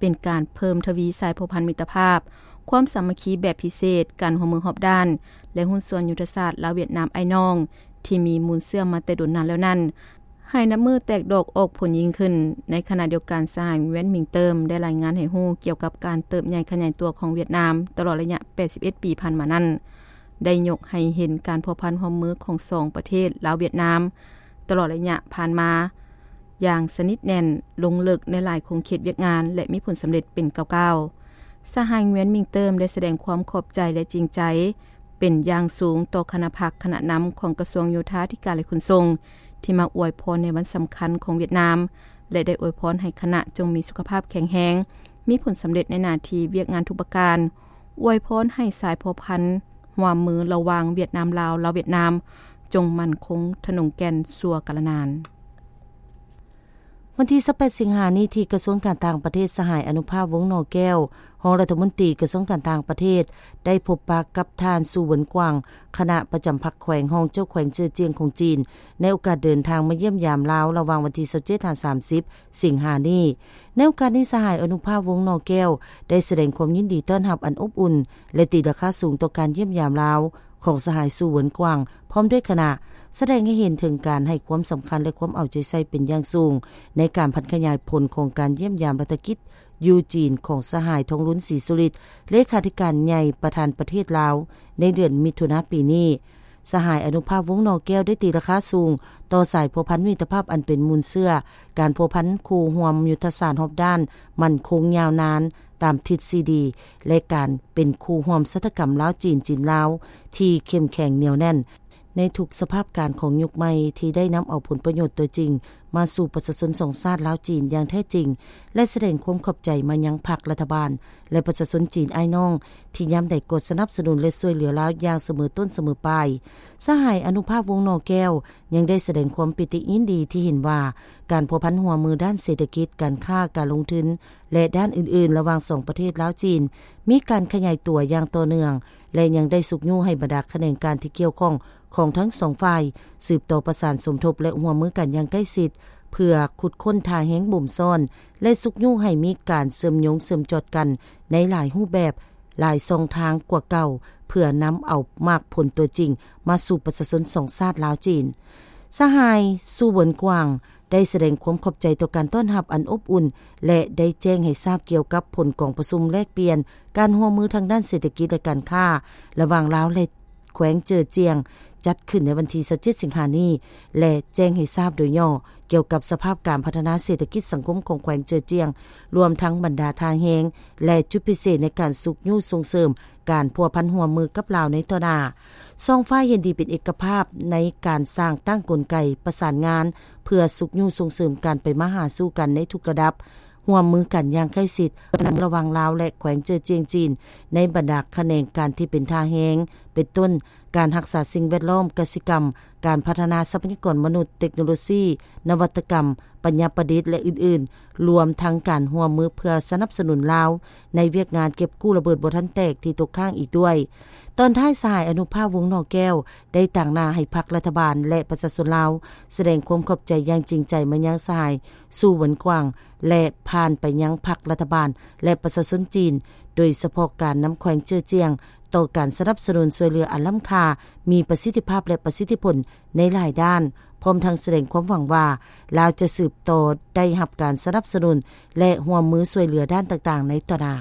ປັນການເພີ່ມທະວີສາຍພົວພັນມິດຕະພາບ, ຄວາມສາມັກຄີແບບພິເສດ, ການຮ່ວມມືຮອບດ້ານ ແລະ ຫຸ້ນສ່ວນຍຸດທະສາດລາວ-ຫວຽດນາມອ້າຍນ້ອງ ທີ່ມີມູນເຊື້ອມາແຕ່ດົນນານແລ້ວນັ້ນ ໃຫ້ນັບມື້ແຕກດອກອອກຜົນຍິ່ງຂຶ້ນ. ໃນຂະນະດຽວກັນ, ສະຫາຍ Nguyen Minh Tam ໄດ້ລາຍງານໃຫ້ຮູ້ກ່ຽວກັບການເຕີບໃຫຍ່ຂະຫຍາຍຕົວຂອງຫວຽດນາມຕະຫຼອດໄລຍະ ແປດສິບເອັດ ປີຜ່ານມານັ້ນ ໄດ້ຍົກໃຫ້ເຫັນການພົວພັນຮ່ວມມືຂອງສອງປະເທດລາວ-ຫວຽດນາມ ຕະຫຼອດໄລຍະຜ່ານມາຢ່າງສະໜິດແໜ້ນ, ລົງເລິກໃນຫຼາຍຂົງເຂດວຽກງານ ແລະ ມີຜົນສຳເລັດເປັນກ້າວໆ. ສະຫາຍ Nguyen Minh Tam ໄດ້ສະແດງຄວາມຂອບໃຈ ແລະ ຈິງໃຈເປັນຢ່າງສູງຕໍ່ຄະນະພັກຄະນະນຳຂອງກະຊວງໂຍທາທິການ ແລະ ຂົນສົ່ງ ທີ່ມາອວຍພອນໃນວັນສຳຄັນຂອງຫວຽດນາມ ແລະ ໄດ້ອວຍພອນໃຫ້ຄະນະຈົ່ງມີສຸຂະພາບແຂງແຮງ, ມີຜົນສຳເລັດໃນໜ້າທີ່ວຽກງານທຸກປະການ, ອວຍພອນໃຫ້ສາຍພົວພັນຮ່ວມມືລະຫວ່າງຫວຽດນາມ-ລາວ, ລາວ-ຫວຽດນາມ ຈົ່ງໝັ້ນຄົງທະນົງແກ່ນຊົ່ວກາລະນານ. ວັນທີຊາວແປດ ສິງຫານີ້ ທີ່ກະຊວງການຕ່າງປະເທດ, ສະຫາຍ ອະນຸພາບ ວົງໜໍ່ແກ້ວ ຮອງລັດຖະມົນຕີກະຊວງການຕ່າງປະເທດ ໄດ້ພົບປະກັບທ່ານ ຊູ ເຫວິນກວາງ ຄະນະປະຈຳພັກແຂວງ, ຮອງເຈົ້າແຂວງເຈີ້ອຈຽງຂອງຈີນ ໃນໂອກາດເດີນທາງມາຢ້ຽມຢາມລາວ ລະຫວ່າງວັນທີຊາວເຈັດ ຫາ ສາມສິບ ສິງຫານີ້. ໃນໂອກາດນີ້, ສະຫາຍ ອະນຸພາບ ວົງໜໍ່ແກ້ວ ໄດ້ສະແດງຄວາມຍິນດີຕ້ອນຮັບອັນອົບອຸ່ນ ແລະ ຕີລາຄາສູງຕໍ່ການຢ້ຽມຢາມລາວ ຂອງສະຫາຍ ຊູ ເຫວິນກວາງ ພ້ອມດ້ວຍຄະນະ, ສະແດງໃຫ້ເຫັນເຖິງການໃຫ້ຄວາມສຳຄັນ ແລະ ຄວາມເອົາໃຈໃສ່ເປັນຢ່າງສູງ ໃນການຜັນຂະຫຍາຍຜົນຂອງການຢ້ຽມຢາມລັດຖະກິດຢູ່ຈີນຂອງສະຫາຍ ທອງລຸນ ສີສຸລິດ ເລຂາທິການໃຫຍ່ປະທານປະເທດລາວ ໃນເດືອນມິຖຸນາປີນີ້. ສະຫາຍ ອະນຸພາບ ວົງໜໍ່ແກ້ວ ໄດ້ຕີລາຄາສູງຕໍ່ສາຍພົວພັນມິດຕະພາບອັນເປັນມູນເຊື້ອ, ການພົວພັນຄູ່ຮ່ວມຍຸດທະສາດຮອບດ້ານໝັ້ນຄົງຍາວນານຕາມທິດສີ່ດີ ແລະ ການເປັນຄູ່ຮ່ວມຊະຕາກຳລາວ-ຈີນ, ຈີນ-ລາວ ທີ່ເຂັ້ມແຂງໜຽວແໜ້ນ ໃນທຸກສະພາບການຂອງຍຸກໃໝ່ ທີ່ໄດ້ນຳເອົາຜົນປະໂຫຍດຕົວຈິງມາສູ່ປະຊາຊົນສອງຊາດລາວ-ຈີນຢ່າງແທ້ຈິງ ແລະ ສະແດງຄວາມຂອບໃຈມາຍັງພັກ, ລັດຖະບານ ແລະ ປະຊາຊົນຈີນອ້າຍນ້ອງ ທີ່ຍາມໃດກໍສະໜັບສະໜູນ ແລະ ຊ່ວຍເຫຼືອລາວຢ່າງສະເໝີຕົ້ນສະເໝີປາຍ. ສະຫາຍ ອະນຸພາບ ວົງໜໍ່ແກ້ວ ຍັງໄດ້ສະແດງຄວາມປີຕິຍິນດີທີ່ເຫັນວ່າ ການພົວພັນຮ່ວມມືດ້ານເສດຖະກິດ, ການຄ້າ, ການລົງທຶນ ແລະ ດ້ານອື່ນໆ ລະຫວ່າງສອງປະເທດລາວ-ຈີນ ມີການຂະຫຍາຍຕົວຢ່າງຕໍ່ເນື່ອງ ແລະ ຍັງໄດ້ຊຸກຍູ້ໃຫ້ບັນດາຂະແໜງການທີ່ກ່ຽວຂ້ອງຂອງທັງສອງຝ່າຍ ສືບຕໍ່ປະສານສົມທົບ ແລະ ຮ່ວມມືກັນຢ່າງໃກ້ຊິດ ເພື່ອຂຸດຄົ້ນທ່າແຮງບົ່ມຊ້ອນ ແລະ ຊຸກຍູ້ໃຫ້ມີການເຊື່ອມໂຍງເຊື່ອມຈອດກັນໃນຫຼາຍຮູບແບບ, ຫຼາຍຊ່ອງທາງກວ່າເກົ່າ ເພື່ອນຳເອົາໝາກຜົນຕົວຈິງມາສູ່ປະຊາຊົນສອງຊາດລາວ-ຈີນ. ສະຫາຍ ຊູ ເຫວິນກວາງ ໄດ້ສະແດງຄວາມຂອບໃຈຕໍ່ການຕ້ອນຮັບອັນອົບອຸ່ນ ແລະ ໄດ້ແຈ້ງໃຫ້ຊາບກ່ຽວກັບຜົນກອງປະຊຸມແລກປ່ຽນການຮ່ວມມືທາງດ້ານເສດຖະກິດ ແລະ ການຄ້າ ລະຫວ່າງລາວ ແລະ ແຂວງເຈີ້ອຈຽງ ຈັດຂຶ້ນໃນວັນທີຊາວເຈັດ ສິງຫານີ້ ແລະ ແຈ້ງໃຫ້ຊາບໂດຍຫຍໍ້ກ່ຽວກັບສະພາບການພັດທະນາເສດຖະກິດສັງຄົມຂອງແຂວງເຈີ້ອຈຽງ, ລວມທັງບັນດາທ່າແຮງ ແລະ ຈຸດພິເສດໃນການຊຸກຍູ້ສົ່ງເສີມການພົວພັນຮ່ວມມືກັບລາວໃນຕໍ່ໜ້າ. ສອງຝ່າຍເຫັນດີເປັນເອກະພາບໃນການສ້າງຕັ້ງກົນໄກປະສານງານ ເພື່ອຊຸກຍູ້ສົ່ງເສີມການໄປມາຫາສູ່ກັນໃນທຸກລະດັບ, ຮ່ວມມືກັນຢ່າງໃກ້ຊິດ ລະຫວ່າງລາວ ແລະ ແຂວງເຈີ້ອຈຽງຈີນ ໃນບັນດາຂະແໜງການທີ່ເປັນທ່າແຮງ, ເປັນຕົ້ນ ການຮັກສາສິ່ງແວດລ້ອມ, ກະສິກຳ, ການພັດທະນາຊັບພະຍາກອນມະນຸດ, ເຕັກໂນໂລຊີ, ນະວັດຕະກຳ, ປັນຍາປະດິດ ແລະ ອື່ນໆ, ລວມທັງການຮ່ວມມືເພື່ອສະໜັບສະໜູນລາວໃນວຽກງານເກັບກູ້ລະເບີດບໍ່ທັນແຕກທີ່ຕົກຄ້າງອີກດ້ວຍ. ຕອນທ້າຍ, ສະຫາຍ ອະນຸພາບ ວົງໜໍ່ແກ້ວ ໄດ້ຕາງໜ້າໃຫ້ພັກ, ລັດຖະບານ ແລະ ປະຊາຊົນລາວ ສະແດງຄວາມຂອບໃຈຢ່າງຈິງໃຈມາຍັງສະຫາຍ ຊູ ເຫວິນກວາງ ແລະ ຜ່ານໄປຍັງພັກ, ລັດຖະບານ ແລະ ປະຊາຊົນຈີນ, ໂດຍສະເພາະການນຳແຂວງເຈີ້ອຈຽງ ຕໍ່ການສະໜັບສະໜູນຊ່ວຍເຫຼືອອັນລ້ຳຄ່າ, ມີປະສິດທິພາບ ແລະ ປະສິດທິຜົນໃນຫຼາຍດ້ານ, ພ້ອມທັງສະແດງຄວາມຫວັງວ່າ ລາວຈະສືບຕໍ່ໄດ້ຮັບການສະໜັບສະໜູນ ແລະ ຮ່ວມມືຊ່ວຍເຫຼືອດ້ານຕ່າງໆໃນຕໍ່ໜ້າ.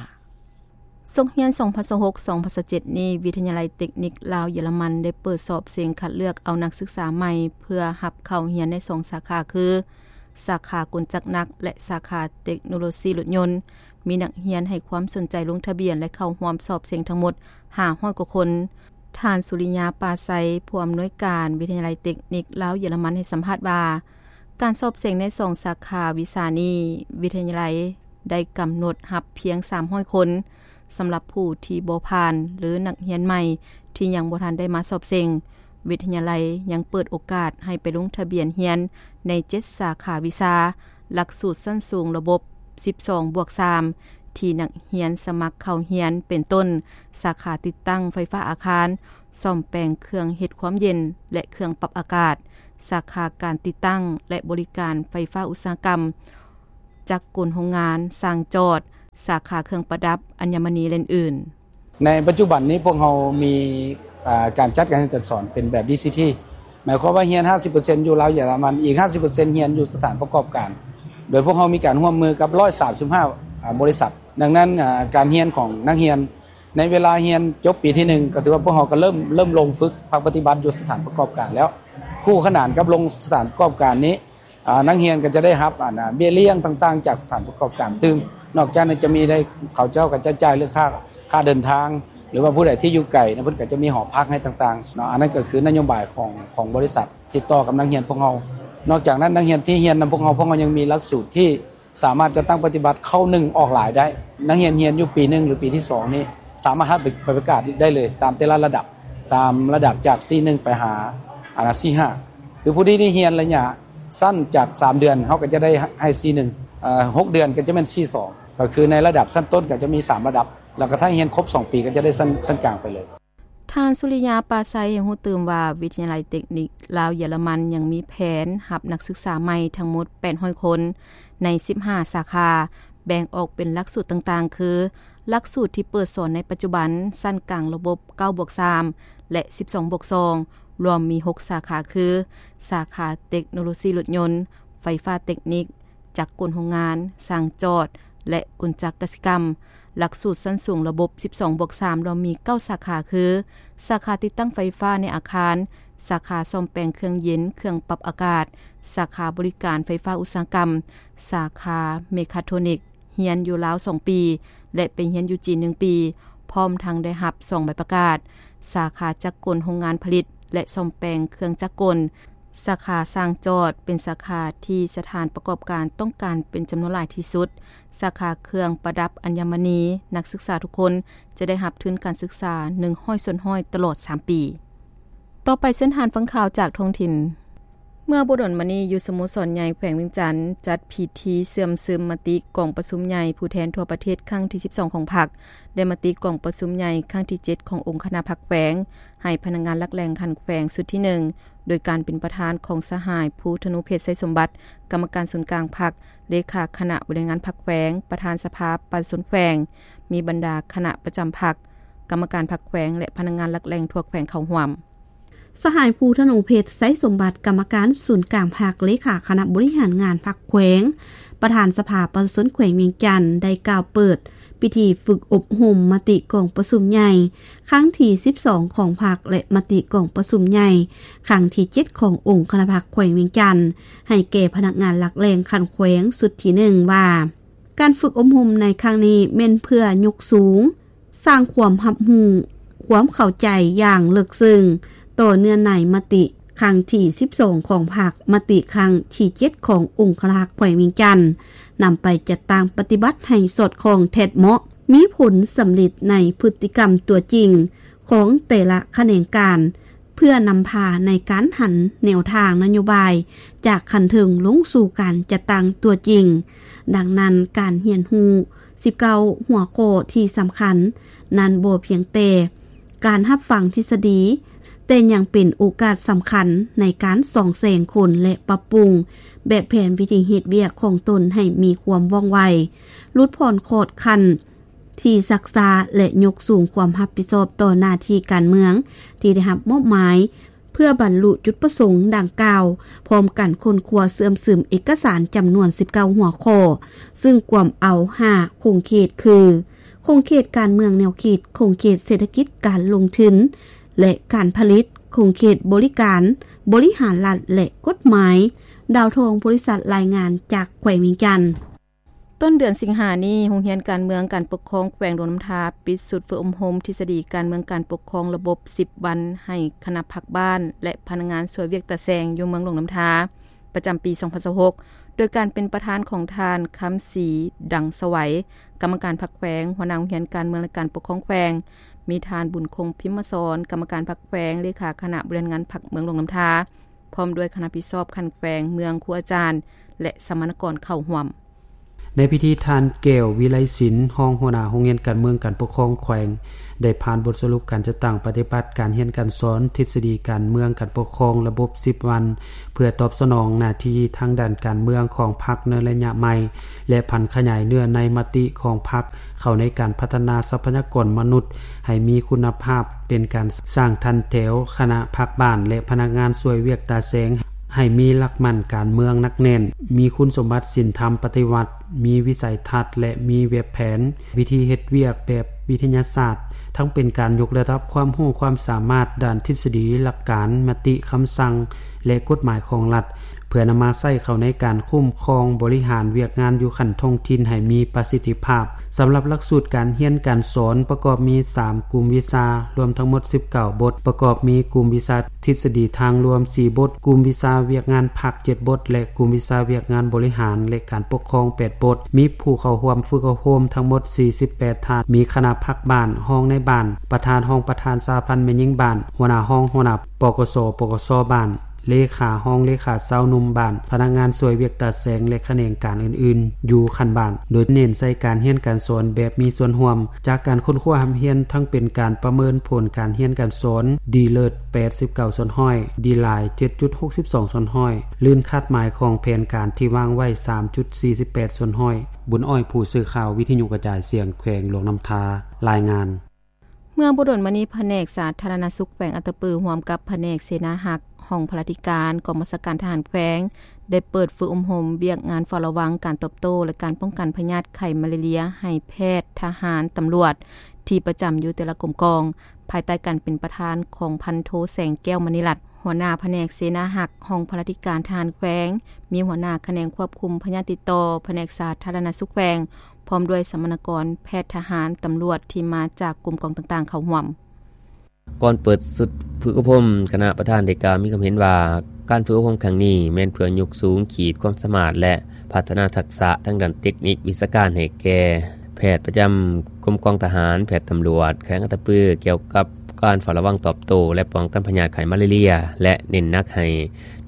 ສົກຮຽນ ສອງພັນຊາວຫົກ ສອງພັນຊາວເຈັດ ນີ້, ວິທະຍາໄລເຕັກນິກລາວ-ເຢຍລະມັນ ໄດ້ເປີດສອບເສັງຄັດເລືອກເອົານັກສຶກສາໃໝ່ ເພື່ອຮັບເຂົ້າຮຽນໃນສອງສາຂາຄື ສາຂາກົນຈັກໜັກ ແລະ ສາຂາເຕັກໂນໂລຊີລົດຍົນ. ມີນັກຮຽນໃຫ້ຄວາມສົນໃຈລົງທະບຽນ ແລະ ເຂົ້າຮ່ວມສອບເສັງທັງໝົດ ຫ້າຮ້ອຍກວ່າຄົນ. ທ່ານ ສຸລິຍາ ປາໄຊ, ຜູ້ອຳນວຍການວິທະຍາໄລເຕັກນິກລາວ-ເຢຍລະມັນ ໃຫ້ສຳພາດວ່າ ການສອບເສັງໃນສອງສາຂາວິຊານີ້, ວິທະຍາໄລໄດ້ກຳນົດຮັບພຽງສາມຮ້ອຍຄົນ. ສຳລັບຜູ້ທີ່ບໍ່ຜ່ານ ຫຼື ນັກຮຽນໃໝ່ທີ່ຍັງບໍ່ທັນໄດ້ມາສອບເສັງ, ວິທະຍາໄລຍັງເປີດໂອກາດໃຫ້ໄປລົງທະບຽນຮຽນໃນເຈັດສາຂາວິຊາ, ຫຼັກສູດຊັ້ນສູງລະບົບສິບສອງບວກສາມ ທີ່ນັກຮຽນສະໝັກເຂົ້າຮຽນ ເປັນຕົ້ນ ສາຂາຕິດຕັ້ງໄຟຟ້າອາຄານ, ສ້ອມແປງເຄື່ອງເຮັດຄວາມເຢັນ ແລະ ເຄື່ອງປັບອາກາດ, ສາຂາການຕິດຕັ້ງ ແລະ ບໍລິການໄຟຟ້າອຸດສາຫະກຳ, ຈັກກົນໂຮງງານ, ຊ່າງຈອດ, ສາຂາເຄື່ອງປະດັບ, ອັນຍະມະນີ ແລະ ອື່ນໆ. ໃນປັດຈຸບັນນີ້ພວກເຮົາມີ ອາ ການຈັດການຮຽນການສອນເປັນແບບ ດີຊີທີ ໝາຍຄວາມວ່າຮຽນຫ້າສິບເປີເຊັນຢູ່ລາວເຢຍລະມັນ, ອີກຫ້າສິບເປີເຊັນຮຽນຢູ່ສະຖານປະກອບການ, ໂດຍພວກເຮົາມີການຮ່ວມມືກັບຮ້ອຍສາມສິບຫ້າ ອາ ບໍລິສັດ. ດັ່ງນັ້ນ ອາ ການຮຽນຂອງນັກຮຽນໃນເວລາຮຽນຈົບປີທີໜຶ່ງ ກໍຖືວ່າພວກເຮົາກໍເລີ່ມ ເລີ່ມລົງຝຶກພາກປະຕິບັດຢູ່ສະຖານປະກອບການແລ້ວ. ຄູ່ຂະໜານກັບລົງສະຖານປະກອບການນີ້ ອາ ນັກຮຽນກໍຈະໄດ້ຮັບ ອັນ ອາ ເບ້ຍລ້ຽງຕ່າງໆຈາກສະຖານປະກອບການຕື່ມ. ນອກຈາກນັ້ນຈະມີໄດ້ ເຂົາເຈົ້າກໍຈະຈ່າຍເລື່ອງຄ່າ ຄ່າເດີນທາງ ຫຼືວ່າຜູ້ໃດທີ່ຢູ່ໄກນະ ເພິ່ນກໍຈະມີຫໍພັກໃຫ້ຕ່າງໆເນາະ. ອັນນັ້ນກໍຄືນະໂຍບາຍຂອງ ຂອງບໍລິສັດທີ່ຕໍ່ກັບນັກຮຽນພວກເຮົາ. ນອກຈາກນັ້ນ ນັກຮຽນທີ່ຮຽນນຳພວກເຮົາ ພວກເຮົາຍັງມີຫຼັກສູດທີ່ສາມາດຈັດຕັ້ງປະຕິບັດເຂົ້າໜຶ່ງອອກຫຼາຍໄດ້. ນັກຮຽນຮຽນຢູ່ປີໜຶ່ງ ຫຼື ປີທີສອງນີ້ ສາມາດຮັບໄປປະກາດໄດ້ເລີຍ ຕາມແຕ່ລະລະດັບ, ຕາມລະດັບຈາກ ສີ່ໜຶ່ງ ໄປຫາ ອັນ ສີ່ຫ້າ. ຄືຜູ້ທີ່ໄດ້ຮຽນໄລຍະສັ້ນຈາກສາມເດືອນ ເຮົາກໍຈະໄດ້ໃຫ້ ສີ່ໜຶ່ງ, ເອີ ຫົກເດືອນກໍຈະແມ່ນ ສີ່ສອງ, ກໍຄືໃນລະດັບຊັ້ນຕົ້ນກໍຈະມີສາມລະດັບ, ແລ້ວກໍຖ້າຮຽນຄົບສອງປີກໍຈະໄດ້ຊັ້ນ ຊັ້ນກາງໄປເລີຍ. ທ່ານ ສຸລິຍາ ປາໄຊ ໃຫ້ຮູ້ຕື່ມວ່າ ວິທະຍາໄລເຕັກນິກລາວເຢຍລະມັນຍັງມີແຜນຮັບນັກສຶກສາໃໝ່ທັງໝົດ ແປດຮ້ອຍຄົນ ໃນ ສິບຫ້າ ສາຂາ, ແບ່ງອອກເປັນຫຼັກສູດຕ່າງໆ ຄື ຫຼັກສູດທີ່ເປີດສອນໃນປັດຈຸບັນ, ຊັ້ນກາງລະບົບ ເກົ້າບວກສາມ ແລະ ສິບສອງບວກສອງ ລວມມີ ຫົກ ສາຂາ ຄື ສາຂາເຕັກໂນໂລຊີລົດຍົນ, ໄຟຟ້າເຕັກນິກ, ຈັກກົນໂຮງງານ, ຊ່າງຈອດ ແລະ ກົນຈັກກະສິກຳ. ຫຼັກສູດຊັ້ນສູງລະບົບ ສິບສອງບວກສາມ ລວມມີ ເກົ້າ ສາຂາ ຄື ສາຂາຕິດຕັ້ງໄຟຟ້າໃນອາຄານ, ສາຂາສ້ອມແປງເຄື່ອງເຢັນ, ເຄື່ອງປັບອາກາດ, ສາຂາບໍລິການໄຟຟ້າອຸດສາຫະກຳ, ສາຂາເມຄາໂທນິກ, ຮຽນຢູ່ລາວສອງປີ ແລະ ໄປຮຽນຢູ່ຈີນໜຶ່ງປີ, ພ້ອມທັງໄດ້ຮັບສອງໃບປະກາດ, ສາຂາຈັກກົນໂຮງງານຜະລິດ ແລະ ສ້ອມແປງເຄື່ອງຈັກກົນ, ສາຂາຊ່າງຈອດ ເປັນສາຂາທີ່ສະຖານປະກອບການຕ້ອງການເປັນຈຳນວນຫຼາຍທີ່ສຸດ, ສາຂາເຄື່ອງປະດັບອັນຍະມະນີ, ນັກສຶກສາທຸກຄົນຈະໄດ້ຮັບທຶນການສຶກສາ ໜຶ່ງຮ້ອຍສ່ວນຮ້ອຍ ຕະຫຼອດສາມປີ. ຕໍ່ໄປເຊີນທ່ານຟັງຂ່າວຈາກທ້ອງຖິ່ນ. ເມື່ອບໍ່ດົນມານີ້ ຢູ່ສະໂມສອນໃຫຍ່ແຂວງວຽງຈັນ ຈັດພິທີເຊື່ອມຊຶມມະຕິກອງປະຊຸມໃຫຍ່ຜູ້ແທນທົ່ວປະເທດຄັ້ງທີສິບສອງຂອງພັກ ແລະ ມະຕິກອງປະຊຸມໃຫຍ່ຄັ້ງທີເຈັດຂອງອົງຄະນະພັກແຂວງ ໃຫ້ພະນັກງານຫຼັກແຫຼ່ງຂັ້ນແຂວງຊຸດທີໜຶ່ງ ໂດຍການເປັນປະທານຂອງສະຫາຍ ພູທະນູເພັດ ໄຊສົມບັດ ກຳມະການສູນກາງພັກ, ເລຂາຄະນະບໍລິຫານງານພັກແຂວງ, ປະທານສະພາປະຊາຊົນແຂວງ, ມີບັນດາຄະນະປະຈຳພັກ, ກຳມະການພັກແຂວງ ແລະ ພະນັກງານຫຼັກແຫຼ່ງທົ່ວແຂວງເຂົ້າຮ່ວມ. ສະຫາຍ ພູທະນູເພັດ ໄຊສົມບັດ ກຳມະການສູນກາງພັກ, ເລຂາຄະນະບໍລິຫານງານພັກແຂວງ, ປະທານສະພາປະຊາຊົນແຂວງວຽງຈັນ ໄດ້ກ່າວເປີດພິທີຝຶກອົບຮົມມະຕິກອງປະຊຸມໃຫຍ່ ຄັ້ງທີສິບສອງຂອງພັກ ແລະ ມະຕິກອງປະຊຸມໃຫຍ່ຄັ້ງທີເຈັດຂອງອົງຄະນະພັກແຂວງວຽງຈັນ ໃຫ້ແກ່ພະນັກງານຫຼັກແຫຼ່ງຂັ້ນແຂວງຊຸດທີໜຶ່ງ ວ່າ ການຝຶກອົບຮົມໃນຄັ້ງນີ້ແມ່ນເພື່ອຍົກສູງ ສ້າງຄວາມຮັບຮູ້, ຄວາມເຂົ້າໃຈຢ່າງເລິກເຊິ່ງຕໍ່ເນື້ອໃນມະຕິຄັ້ງທີສິບສອງຂອງພັກ, ມະຕິຄັ້ງທີເຈັດຂອງອົງຄະນະພັກແຂວງວຽງຈັນ, ນຳໄປຈັດຕັ້ງປະຕິບັດໃຫ້ສອດຄ່ອງແທດເໝາະ, ມີຜົນສຳເລັດໃນພຶດຕິກຳຕົວຈິງຂອງແຕ່ລະຂະແໜງການ, ເພື່ອນຳພາໃນການຫັນແນວທາງນະໂຍບາຍຈາກຂັ້ນເທິງລົງສູ່ການຈັດຕັ້ງຕົວຈິງ. ດັ່ງນັ້ນ, ການຮຽນຮູ້ສິບເກົ້າຫົວຂໍ້ທີ່ສຳຄັນນັ້ນ ບໍ່ພຽງແຕ່ການຮັບຟັງທິດສະດີ, ແຕ່ຍັງເປັນໂອກາດສຳຄັນໃນການສ່ອງແສງຄົນ ແລະ ປັບປຸງແບບແຜນວິທີເຮັດວຽກຂອງຕົນໃຫ້ມີຄວາມວ່ອງໄວ, ຫຼຸດຜ່ອນຂອດຂັ້ນ ທີ່ຊັກຊ້າ ແລະ ຍົກສູງຄວາມຮັບຜິດຊອບຕໍ່ໜ້າທີ່ການເມືອງທີ່ໄດ້ຮັບມອບໝາຍ ເພື່ອບັນລຸຈຸດປະສົງດັ່ງກ່າວ, ພ້ອມກັນຄົ້ນຄວ້າເຊື່ອມຊຶມເອກະສານຈຳນວນສິບເກົ້າຫົວຂໍ້, ຊຶ່ງກວມເອົາຫ້າຂົງເຂດຄື ຂົງເຂດການເມືອງແນວຄິດ, ຂົງເຂດເສດຖະກິດການລົງທຶນ ແລະ ການຜະລິດ, ຂົງເຂດບໍລິການ, ບໍລິຫານລັດ ແລະ ກົດໝາຍ. ດາວທອງ ບໍລິສັດ ລາຍງານຈາກແຂວງວຽງຈັນ. ຕົ້ນເດືອນສິງຫານີ້, ໂຮງຮຽນການເມືອງການປົກຄອງແຂວງຫຼວງນ້ຳທາ ປິດຊຸດຝຶກອົບຮົມທິດສະດີການເມືອງການປົກຄອງລະບົບສິບວັນ ໃຫ້ຄະນະພັກບ້ານ ແລະ ພະນັກງານຊ່ວຍວຽກຕາແຊງຢູ່ເມືອງຫຼວງນ້ຳທາ ປະຈຳປີສອງພັນຊາວຫົກ ໂດຍການເປັນປະທານຂອງທ່ານ ຄຳສີ ດັງສະໄຫວ ກຳມະການພັກແຂວງ, ຫົວໜ້າໂຮງຮຽນການເມືອງ ແລະ ການປົກຄອງແຂວງ, ມີທ່ານ ບຸນຄົງ ພິມມະສອນ ກຳມະການພັກແຂວງ, ເລຂາຄະນະບໍລິຫານງານພັກເມືອງຫຼວງນ້ຳທາ ພ້ອມດ້ວຍຄະນະຜິດຊອບຂັ້ນແຂວງ, ເມືອງ, ຄູອາຈານ ແລະ ສຳມະນາກອນເຂົ້າຮ່ວມ. ໃນພິທີ ທ່ານ ແກ້ວ ວິໄລສິນ ຮອງຫົວໜ້າໂຮງຮຽນການເມືອງການປົກຄອງແຂວງ ໄດ້ຜ່ານບົດສະຫຼຸບການຈັດຕັ້ງປະຕິບັດການຮຽນການສອນທິດສະດີການເມືອງການປົກຄອງລະບົບສິບວັນ ເພື່ອຕອບສະໜອງໜ້າທີ່ທາງດ້ານການເມືອງຂອງພັກໃນໄລຍະໃໝ່ ແລະ ຜັນຂະຫຍາຍເນື້ອໃນມະຕິຂອງພັກເຂົ້າໃນການພັດທະນາຊັບພະຍາກອນມະນຸດໃຫ້ມີຄຸນນະພາບ, ເປັນການສ້າງຖັນແຖວຄະນະພັກບ້ານ ແລະ ພະນັກງານຊ່ວຍວຽກຕາແສງ ໃຫ້ມີຫຼັກໝັ້ນການເມືອງໜັກແໜ້ນ, ມີຄຸນສົມບັດສິນທຳປະຕິວັດ, ມີວິໄສທັດ ແລະ ມີແບບແຜນ, ວິທີເຮັດວຽກແບບວິທະຍາສາດ, ທັງເປັນການຍົກລະດັບຄວາມຮູ້ຄວາມສາມາດດ້ານທິດສະດີ, ຫຼັກການ, ມະຕິ, ຄຳສັ່ງ ແລະ ກົດໝາຍຂອງລັດ, ເພື່ອນຳມາໃຊ້ເຂົ້າໃນການຄຸ້ມຄອງບໍລິຫານວຽກງານຢູ່ຂັ້ນທ້ອງຖິ່ນໃຫ້ມີປະສິດທິພາບ. ສຳລັບຫຼັກສູດການຮຽນການສອນປະກອບມີສາມກຸ່ມວິຊາ, ລວມທັງໝົດສິບເກົ້າບົດ, ປະກອບມີກຸ່ມວິຊາທິດສະດີທາງລວມສີ່ບົດ, ກຸ່ມວິຊາວຽກງານພັກເຈັດບົດ ແລະ ກຸ່ມວິຊາວຽກງານບໍລິຫານ ແລະ ການປົກຄອງແປດບົດ, ມີຜູ້ເຂົ້າຮ່ວມຝຶກອົບຮົມທັງໝົດສີ່ສິບແປດທ່ານ, ມີຄະນະພັກບ້ານ, ຮອງນາຍບ້ານ, ປະທານ, ຮອງປະທານສະຫະພັນແມ່ຍິງບ້ານ, ຫົວໜ້າຫ້ອງ, ຫົວໜ້າ ປກສ, ປກສ ບ້ານ, ເລຂາ, ຮອງເລຂາຊາວໜຸ່ມບ້ານ, ພະນັກງານຊ່ວຍວຽກຕາແສງ ແລະ ຂະແໜງການອື່ນໆ ຢູ່ຂັ້ນບ້ານ, ໂດຍເນັ້ນໃສ່ການຮຽນການສອນແບບມີສ່ວນຮ່ວມ. ຈາກການຄົ້ນຄວ້າຮ່ຳຮຽນ ທັງເປັນການປະເມີນຜົນການຮຽນການສອນ ດີເລີດ ແປດສິບເກົ້າສ່ວນຮ້ອຍ, ດີຫຼາຍ ເຈັດຈຸດຫົກສິບສອງສ່ວນຮ້ອຍ, ລື່ນຄາດໝາຍຂອງແຜນການທີ່ວາງໄວ້ ສາມຈຸດສີ່ສິບແປດສ່ວນຮ້ອຍ. ບຸນອ້ອຍ ຜູ້ສື່ຂ່າວວິທະຍຸກະຈາຍສຽງແຂວງຫຼວງນ້ຳທາ ລາຍງານ. ເມື່ອບໍ່ດົນມານີ້ ພະແນກສາທາລະນະສຸກແຂວງອັດຕະປື ຮ່ວມກັບພະແນກເສນາຮັກ ຫ້ອງພະລາທິການ ກອງບັນຊາການທະຫານແຂວງ ໄດ້ເປີດຝຶກອົບຮົມວຽກງານເຝົ້າລະວັງການຕອບໂຕ້ ແລະ ການປ້ອງກັນພະຍາດໄຂ້ມາລາເຣຍ ໃຫ້ແພດ, ທະຫານ, ຕຳຫຼວດ ທີ່ປະຈຳຢູ່ແຕ່ລະກົມກອງ ພາຍໃຕ້ການເປັນປະທານຂອງພັນໂທ ແສງແກ້ວ ມະນີລັດ ຫົວໜ້າພະແນກເສນາຮັກ ຫ້ອງພະລາທິການທະຫານແຂວງ, ມີຫົວໜ້າຂະແໜງຄວບຄຸມພະຍາດຕິດຕໍ່ ພະແນກສາທາລະນະສຸກແຂວງ ພ້ອມດ້ວຍສຳມະນາກອນ, ແພດ, ທະຫານ, ຕຳຫຼວດທີ່ມາຈາກກົມກອງຕ່າງໆເຂົ້າຮ່ວມ. ກ່ອນເປີດຊຸດຝຶກອົບຮົມ, ຄະນະປະທານໄດ້ກ່າວມີຄຳເຫັນວ່າ ການຝຶກອົບຮົມຄັ້ງນີ້ແມ່ນເພື່ອຍົກສູງຂີດຄວາມສາມາດ ແລະ ພັດທະນາທັກສະທາງດ້ານເຕັກນິກວິຊາການໃຫ້ແກ່ແພດປະຈຳກົມກອງທະຫານ, ແພດຕຳຫຼວດແຂວງອັດຕະປື ກ່ຽວກັບການເຝົ້າລະວັງຕອບໂຕ້ ແລະ ປ້ອງກັນພະຍາດໄຂ້ມາລາເຣຍ ແລະ ເນັ້ນໜັກໃຫ້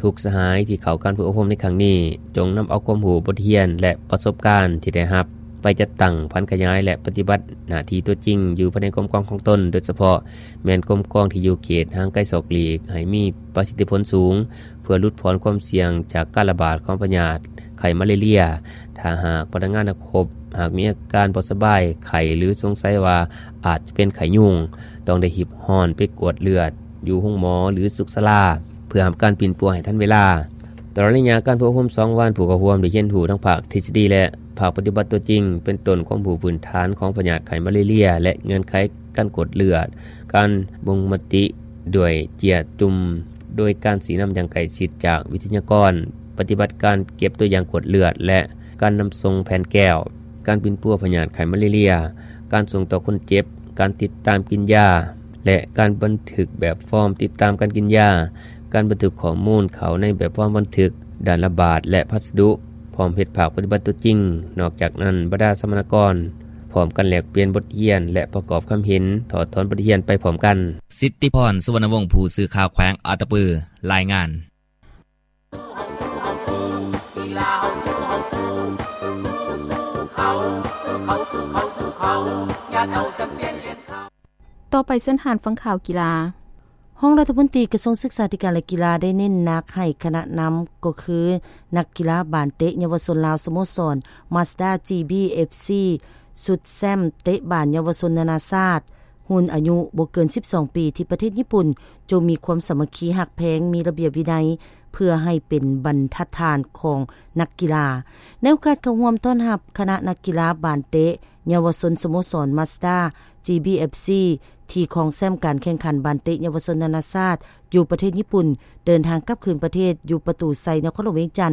ທຸກສະຫາຍທີ່ເຂົ້າການຝຶກອົບຮົມໃນຄັ້ງນີ້ ຈົ່ງນຳເອົາຄວາມຮູ້, ບົດຮຽນ ແລະ ປະສົບການທີ່ໄດ້ຮັບ ໄປຈັດຕັ້ງ, ຜັນຂະຫຍາຍ ແລະ ປະຕິບັດໜ້າທີ່ຕົວຈິງຢູ່ພາຍໃນກົມກອງຂອງຕົນ, ໂດຍສະເພາະແມ່ນກົມກອງທີ່ຢູ່ເຂດຫ່າງໄກສອກຫຼີກ ໃຫ້ມີປະສິດທິຜົນສູງ ເພື່ອຫຼຸດຜ່ອນຄວາມສ່ຽງຈາກການລະບາດຂອງພະຍາດໄຂ້ມາລາເຣຍ. ຖ້າຫາກພະນັກງານນັກຮົບ ຫາກມີອາການບໍ່ສະບາຍ, ໄຂ້ ຫຼື ສົງໄສວ່າອາດຈະເປັນໄຂ້ຍຸງ, ຕ້ອງໄດ້ຮີບຮ້ອນໄປກວດເລືອດ ຢູ່ໂຮງໝໍ ຫຼື ສຸກສາລາ ເພື່ອຮັບການປິ່ນປົວໃຫ້ທັນເວລາ. ຕະຫຼອດໄລຍະການຝຶກອົບຮົມສອງວັນ, ຜູ້ເຂົ້າຮ່ວມໄດ້ຮຽນຮູ້ທັງພາກທິດສະດີ ແລະ ພາກປະຕິບັດຕົວຈິງ, ເປັນຕົ້ນຄວາມຮູ້ພື້ນຖານຂອງພະຍາດໄຂ້ມາລາເຣຍ ແລະ ເງື່ອນໄຂການກວດເລືອດ, ການບົ່ງມະຕິດ້ວຍເຈ້ຍຈຸ່ມ, ໂດຍການຊີ້ນຳຢ່າງໃກ້ຊິດຈາກວິທະຍາກອນ, ປະຕິບັດການເກັບຕົວຢ່າງກວດເລືອດ ແລະ ການນຳສົ່ງແຜ່ນແກ້ວ, ການປິ່ນປົວພະຍາດໄຂ້ມາລາເຣຍ, ການສົ່ງຕໍ່ຄົນເຈັບ, ການຕິດຕາມກິນຢາ ແລະ ການບັນທຶກແບບຟອມຕິດຕາມການກິນຢາ, ການບັນທຶກຂໍ້ມູນເຂົ້າໃນແບບຟອມບັນທຶກດ້ານລະບາດ ແລະ ພັດສະດຸ, ພ້ອມເຮັດພາກປະຕິບັດຕົວຈິງ. ນອກຈາກນັ້ນ, ບັນດາສຳມະນາກອນພ້ອມກັນແລກປ່ຽນບົດຮຽນ ແລະ ປະກອບຄຳເຫັນ, ຖອດຖອນບົດຮຽນໄປພ້ອມກັນ. ສິດທິພອນ ສຸວັນນະວົງ ຜູ້ສື່ຂ່າວແຂວງອັດຕະປື ລາຍງານ. ຕໍ່ໄປເຊີນທ່ານຟັງຂ່າວກິລາ. ຮອງລັດຖະມົນຕີກະຊວງສຶກສາທິການ ແລະ ກິລາ ໄດ້ເນັ້ນໜັກໃຫ້ຄະນະນຳ ກໍຄືນັກກິລາບານເຕະເຍົາວະຊົນລາວ ສະໂມສອນ Mazda ຈີ ບີ ເອັຟ ຊີ ຊຸດແຊ້ມເຕະບານເຍົາວະຊົນນານາຊາດ ຮຸ່ນອາຍຸບໍ່ເກີນສິບສອງປີ ທີ່ປະເທດຍີ່ປຸ່ນ ຈົ່ງມີຄວາມສາມັກຄີຮັກແພງ, ມີລະບຽບວິໄນ ເພື່ອໃຫ້ເປັນບັນທັດຖານຂອງນັກກິລາ. ໃນໂອກາດເຂົ້າຮ່ວມຕ້ອນຮັບຄະນະນັກກິລາບານເຕະເຍົາວະຊົນສະໂມສອນ Mazda ຈີ ບີ ເອັຟ ຊີ ທີ່ຄອງແຊ້ມການແຂ່ງຂັນບານເຕະເຍົາວະຊົນນານາຊາດຢູ່ປະເທດຍີ່ປຸ່ນ ເດີນທາງກັບຄືນປະເທດ ຢູ່ປະຕູໄຊ ນະຄອນຫຼວງວຽງຈັນ,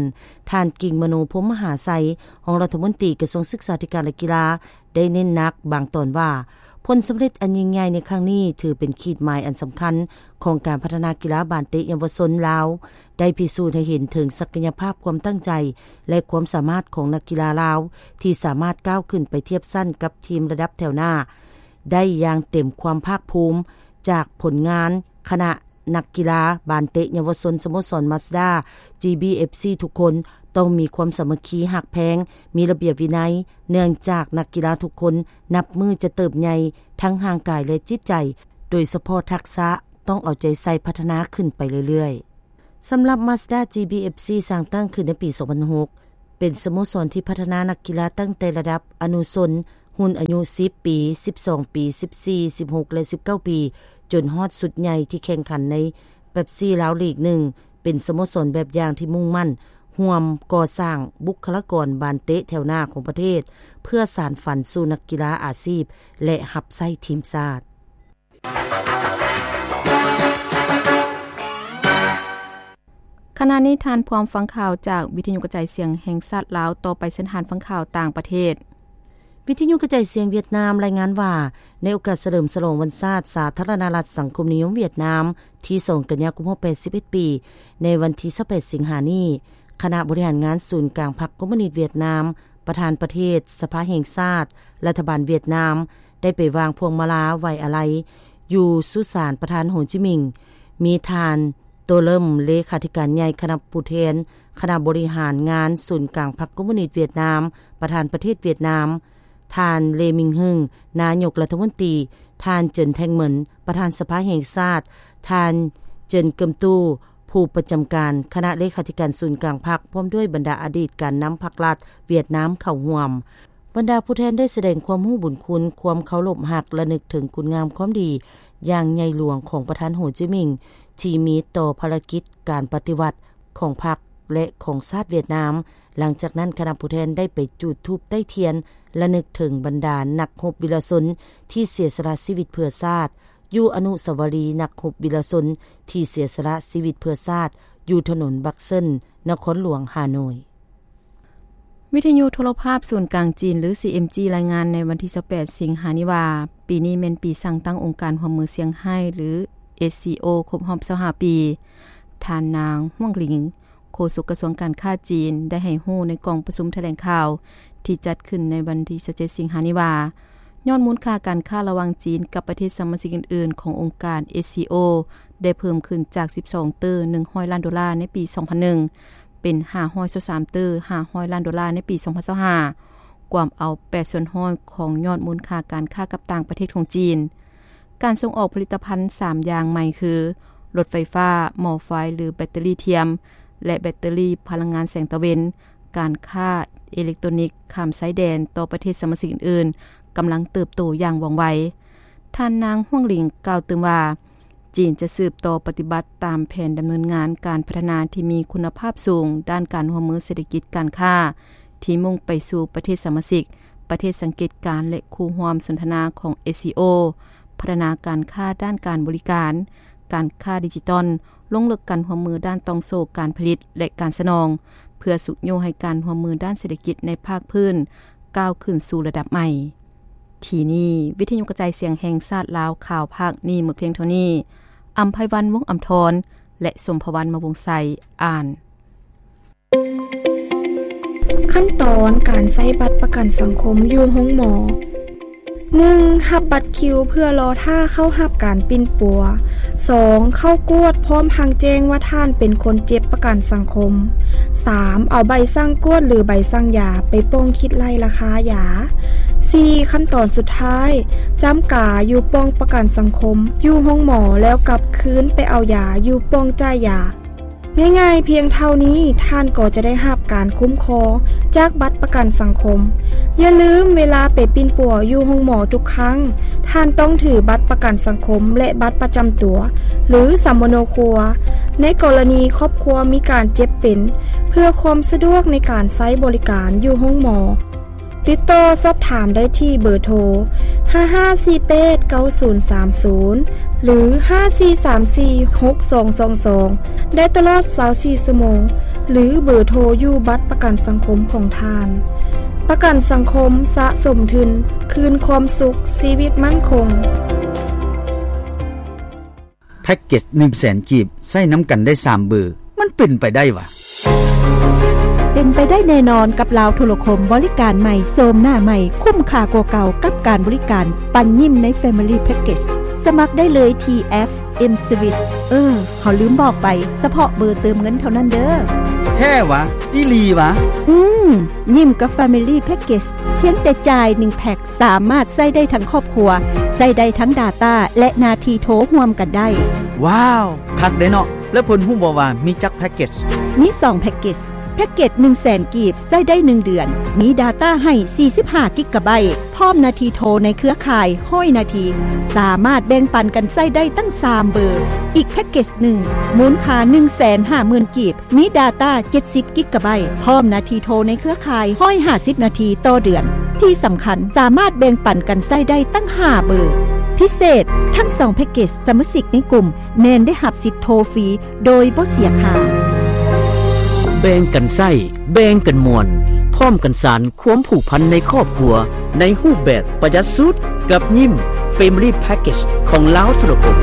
ທ່ານ ກິງມະໂນ ພົມມະຫາໄຊ ຮອງລັດຖະມົນຕີກະຊວງສຶກສາທິການ ແລະ ກິລາ ໄດ້ເນັ້ນໜັກບາງຕອນວ່າ ຜົນສຳເລັດອັນຍິ່ງໃຫຍ່ໃນຄັ້ງນີ້ ຖືເປັນຂີດໝາຍອັນສຳຄັນຂອງການພັດທະນາກິລາບານເຕະເຍົາວະຊົນລາວ ໄດ້ພິສູດໃຫ້ເຫັນເຖິງສັກກະຍະພາບ, ຄວາມຕັ້ງໃຈ ແລະ ຄວາມສາມາດຂອງນັກກິລາລາວ ທີ່ສາມາດກ້າວຂຶ້ນໄປທຽບຊັ້ນກັບທີມລະດັບແຖວໜ້າໄດ້ຢ່າງເຕັມຄວາມພາກພູມ. ຈາກຜົນງານຄະນະ ນັກກິລາບານເຕະເຍົາວະຊົນສະໂມສອນ Mazda ຈີ ບີ ເອັຟ ຊີ ທຸກຄົນ ຕ້ອງມີຄວາມສາມັກຄີຮັກແພງ, ມີລະບຽບວິໄນ, ເນື່ອງຈາກນັກກິລາທຸກຄົນນັບມື້ຈະເຕີບໃຫຍ່ທັງຮ່າງກາຍ ແລະ ຈິດໃຈ, ໂດຍສະເພາະທັກສະຕ້ອງເອົາໃຈໃສ່ພັດທະນາຂຶ້ນໄປເລື້ອຍໆ. ສຳລັບ Mazda ຈີ ບີ ເອັຟ ສີ່ ສ້າງຕັ້ງຂຶ້ນໃນປີສອງພັນຫົກ ເປັນສະໂມສອນທີ່ພັດທະນານັກກິລາຕັ້ງແຕ່ລະດັບອະນຸຊົນ, ຮຸ່ນອາຍຸສິບປີ, ສິບສອງປີ, ສິບສີ່, ສິບຫົກ ແລະ ສິບເກົ້າປີ, ຈົນຮອດຊຸດໃຫຍ່ທີ່ແຂ່ງຂັນໃນ Pepsi ລາວລີກໜຶ່ງ ເປັນສະໂມສອນແບບຢ່າງທີ່ມຸ່ງໝັ້ນຮ່ວມກໍ່ສ້າງບຸກຄະລາກອນບານເຕະແຖວໜ້າຂອງປະເທດ ເພື່ອສານຝັນສູ່ນັກກິລາອາຊີບ ແລະ ຮັບໃຊ້ທີມຊາດ. ຂະນະນີ້ທ່ານພ້ອມຟັງຂ່າວຈາກວິທະຍຸກະຈາຍສຽງແຫ່ງຊາດລາວ. ຕໍ່ໄປເຊີນທ່ານຟັງຂ່າວຕ່າງປະເທດ. ວິທະຍຸກະຈາຍສຽງຫວຽດນາມລາຍງານວ່າ, ໃນໂອກາດສະເຫຼີມສະຫຼອງວັນຊາດສາທາລະນະລັດສັງຄົມນິຍົມຫວຽດນາມ ທີສອງ ກັນຍາຄົບຮອບແປດສິບເອັດປີ, ໃນວັນທີຊາວແປດ ສິງຫານີ້, ຄະນະບໍລິຫານງານສູນກາງພັກຄອມມູນິດຫວຽດນາມ, ປະທານປະເທດ, ສະພາແຫ່ງຊາດ, ລັດຖະບານຫວຽດນາມ ໄດ້ໄປວາງພວງມາລາໄວ້ອາໄລຢູ່ສຸສານປະທານໂຮຈິມິງ, ມີທ່ານ ໂຕເລິມ ເລຂາທິການໃຫຍ່ຄະນະຜູ້ແທນຄະນະບໍລິຫານງານສູນກາງພັກຄອມມູນິດຫວຽດນາມ, ປະທານປະເທດຫວຽດນາມ, ທ່ານ ເລ ມິງຮຶງ ນາຍົກລັດຖະມົນຕີ, ທ່ານ ເຈີນ ແທ່ງເໝິນ ປະທານສະພາແຫ່ງຊາດ, ທ່ານ ເຈີນ ເກີມຕູ້ ຜູ້ປະຈຳການຄະນະເລຂາທິການສູນກາງພັກ, ພ້ອມດ້ວຍບັນດາອະດີດການນຳພັກລັດຫວຽດນາມເຂົ້າຮ່ວມ. ບັນດາຜູ້ແທນໄດ້ສະແດງຄວາມຮູ້ບຸນຄຸນ, ຄວາມເຄົາລົບຮັກ ລະນຶກເຖິງຄຸນງາມຄວາມດີຢ່າງໃຫຍ່ຫຼວງຂອງປະທານໂຮຈິມິງ ທີ່ມີຕໍ່ພາລະກິດການປະຕິວັດຂອງພັກ ແລະ ຂອງຊາດຫວຽດນາມ. ຫຼັງຈາກນັ້ນ, ຄະນະຜູ້ແທນໄດ້ໄປຈູດທູບໄຕ້ທຽນ ລະນຶກເຖິງບັນດານັກຮົບວິລະຊົນທີ່ເສຍສະຫຼະຊີວິດເພື່ອຊາດ ຢູ່ອະນຸສາວະລີນັກຮົບວິລະຊົນທີ່ເສຍສະຫຼະຊີວິດເພື່ອຊາດ ຢູ່ຖະໜົນບັກເຊິນ ນະຄອນຫຼວງຮ່າໂນ້ຍ. ວິທະຍຸໂທລະພາບສູນກາງຈີນ ຫຼື ຊີເອັມຈີ ລາຍງານໃນວັນທີຊາວແປດ ສິງຫານີ້ວ່າ, ປີນີ້ແມ່ນປີສ້າງຕັ້ງອົງການຮ່ວມມືຊຽງໄຮ້ ຫຼື ເອສຊີໂອ ຄົບຮອບຊາວຫ້າປີ. ທ່ານນາງ ຫວງ ຫຼີງ ໂຄສົກກະຊວງການຄ້າຈີນ ໄດ້ໃຫ້ຮູ້ໃນກອງປະຊຸມຖະແຫຼງຂ່າວທີ່ຈັດຂຶ້ນໃນວັນທີຊາວເຈັດ ສິງຫານີ້ວ່າ, ຍອດມູນຄ່າການຄ້າລະຫວ່າງຈີນກັບປະເທດສະມາຊິກອື່ນໆຂອງອົງການ ເອສຊີໂອ ໄດ້ເພີ່ມຂຶ້ນຈາກສິບສອງເຕີໜຶ່ງຮ້ອຍລ້ານໂດລາໃນປີສອງພັນໜຶ່ງ ເປັນຫ້າຮ້ອຍຊາວສາມເຕີຫ້າຮ້ອຍລ້ານໂດລາໃນປີສອງພັນຊາວຫ້າ, ກວມເອົາແປດສ່ວນຮ້ອຍຂອງຍອດມູນຄ່າການຄ້າກັບຕ່າງປະເທດຂອງຈີນ. ການສົ່ງອອກຜະລິດຕະພັນສາມຢ່າງໃໝ່ຄື ລົດໄຟຟ້າ, ໝໍ້ໄຟ ຫຼື ແບັດເຕີຣີທຽມ ແລະ ແບັດເຕີຣີພະລັງງານແສງຕາເວັນ, ການຄ້າເອເລັກໂຕຣນິກຂ້າມຊາຍແດນຕໍ່ປະເທດສະມາຊິກອື່ນໆ ກຳລັງເຕີບໂຕຢ່າງວ່ອງໄວ. ທ່ານນາງ ຫວງ ຫຼີງ ກ່າວຕື່ມວ່າ, ຈີນຈະສືບຕໍ່ປະຕິບັດຕາມແຜນດຳເນີນງານການພັດທະນາທີ່ມີຄຸນນະພາບສູງດ້ານການຮ່ວມມືເສດຖະກິດການຄ້າ ທີ່ມຸ່ງໄປສູ່ປະເທດສະມາຊິກ, ປະເທດສັງເກດການ ແລະ ຄູ່ຮ່ວມສົນທະນາຂອງ ເອສຊີໂອ, ພັດທະນາການຄ້າດ້ານການບໍລິການ, ການຄ້າດິຈິຕອນ, ລົງເລິກການຮ່ວມມືດ້ານຕ່ອງໂສ້ການຜະລິດ ແລະ ການສະໜອງ, ເພື່ອຊຸກຍູ້ໃຫ້ການຮ່ວມມືດ້ານເສດຖະກິດໃນພາກພື້ນກ້າວຂຶ້ນສູ່ລະດັບໃໝ່. ທີ່ນີ້ ວິທະຍຸກະຈາຍສຽງແຫ່ງຊາດລາວ ຂ່າວພາກນີ້ໝົດພຽງເທົ່ານີ້. ອຳໄພວັນ ວົງອຳທອນ ແລະ ສົມພະວັນ ມະວົງໄຊ ອ່ານ. ຂັ້ນຕອນການໃຊ້ບັດປະກັນສັງຄົມຢູ່ໂຮງໝໍ. ໜຶ່ງ ຮັບບັດຄິວເພື່ອລໍຖ້າເຂົ້າຮັບການປິ່ນປົວ. ສອງ ເຂົ້າກວດພ້ອມທັງແຈ້ງວ່າທ່ານເປັນຄົນເຈັບປະກັນສັງຄົມ. ສາມ ເອົາໃບສັ່ງກວດ ຫຼື ໃບສັ່ງຢາໄປປ່ອງຄິດໄລ່ລາຄາຢາ. ສີ່ ຂັ້ນຕອນສຸດທ້າຍ, ຈ້ຳກາຢູ່ປ່ອງປະກັນສັງຄົມ, ຢູ່ໂຮງໝໍ ແລ້ວກັບຄືນໄປເອົາຢາຢູ່ປ່ອງຈ່າຍຢາ. ງ່າຍໆພຽງເທົ່ານີ້, ທ່ານກໍຈະໄດ້ຮັບການຄຸ້ມຄອງຈາກບັດປະກັນສັງຄົມ. ຢ່າລືມ, ເວລາໄປປິ່ນປົວຢູ່ໂຮງໝໍທຸກຄັ້ງ, ທ່ານຕ້ອງຖືບັດປະກັນສັງຄົມ ແລະ ບັດປະຈຳຕົວ ຫຼື ສຳມະໂນຄົວ ໃນກໍລະນີຄອບຄົວມີການເຈັບເປັນ, ເພື່ອຄວາມສະດວກໃນການໃຊ້ບໍລິການຢູ່ໂຮງໝໍ. ຕິດຕໍ່ສອບຖາມໄດ້ທີ່ເບີໂທ ຫ້າຫ້າສີ່ແປດເກົ້າສູນສາມສູນ ຫຼື ຫ້າສີ່ສາມສີ່ຫົກສອງສອງສອງ ໄດ້ຕະຫຼອດຊາວສີ່ຊົ່ວໂມງ ຫຼື ເບີໂທຢູ່ບັດປະກັນສັງຄົມຂອງທ່ານ. ປະກັນສັງຄົມ, ສະສົມທຶນ, ຄືນຄວາມສຸກ, ຊີວິດໝັ້ນຄົງ. ແພັກເກັດໜຶ່ງແສນກີບ ໃຊ້ນຳກັນໄດ້ສາມເບີ ມັນເປັນໄປໄດ້ຫວາ? ເປັນໄປໄດ້ແນ່ນອນກັບລາວໂທລະຄົມ, ບໍລິການໃໝ່, ໂສມໜ້າໃໝ່, ຄຸ້ມຄ່າກວ່າເກົ່າກັບການບໍລິການປັນຍິ້ມໃນ Family Package. ສະໝັກໄດ້ເລີຍທີ່ແອັບ M-Swiss. ເອີ, ເຮົາລືມບອກໄປ, ສະເພາະເບີເຕີມເງິນເທົ່ານັ້ນເດີ້. ແທ້ຫວາ? ອີ່ຫຼີຫວາ? ອືມ, ຍິ້ມກັບ Family Package ພຽງແຕ່ຈ່າຍໜຶ່ງແພັກ ສາມາດໃຊ້ໄດ້ທັງຄອບຄົວ, ໃຊ້ໄດ້ທັງ Data ແລະ ນາທີໂທຮ່ວມກັນໄດ້. ວ້າວ, ຄັກເດ້ເນາະ. ແລ້ວເພິ່ນຮູ້ບໍ່ວ່າມີຈັກແພັກເກັດ? ມີສອງແພັກເກັດ. ແພັກເກັດໜຶ່ງແສນກີບ ໃຊ້ໄດ້ໜຶ່ງເດືອນ, ມີ Data ໃຫ້ສີ່ສິບຫ້າກິກກະໄບ ພ້ອມນາທີໂທໃນເຄືອຂ່າຍຮ້ອຍນາທີ, ສາມາດແບ່ງປັນກັນໃຊ້ໄດ້ຕັ້ງສາມເບີ. ອີກແພັກເກັດໜຶ່ງ ມູນຄ່າໜຶ່ງແສນຫ້າໝື່ນກີບ, ມີ Data ເຈັດສິບກິກກະໄບ ພ້ອມນາທີໂທໃນເຄືອຂ່າຍຮ້ອຍຫ້າສິບນາທີຕໍ່ເດືອນ. ທີ່ສຳຄັນ, ສາມາດແບ່ງປັນກັນໃຊ້ໄດ້ຕັ້ງຫ້າເບີ. ພິເສດ, ທັງສອງແພັກເກັດສະມາຊິກໃນກຸ່ມ ແມ່ນໄດ້ຮັບສິດໂທຟຣີໂດຍບໍ່ເສຍຄ່າ. ແບ່ງກັນໃຊ້, ແບ່ງກັນມ່ວນ, ພ້ອມກັນສານຄວາມຜູກພັນໃນຄອບຄົວ ໃນຮູບແບບປະຢັດສຸດ ກັບຍິ້ມ Family Package ຂອງລາວໂທລະຄົມ.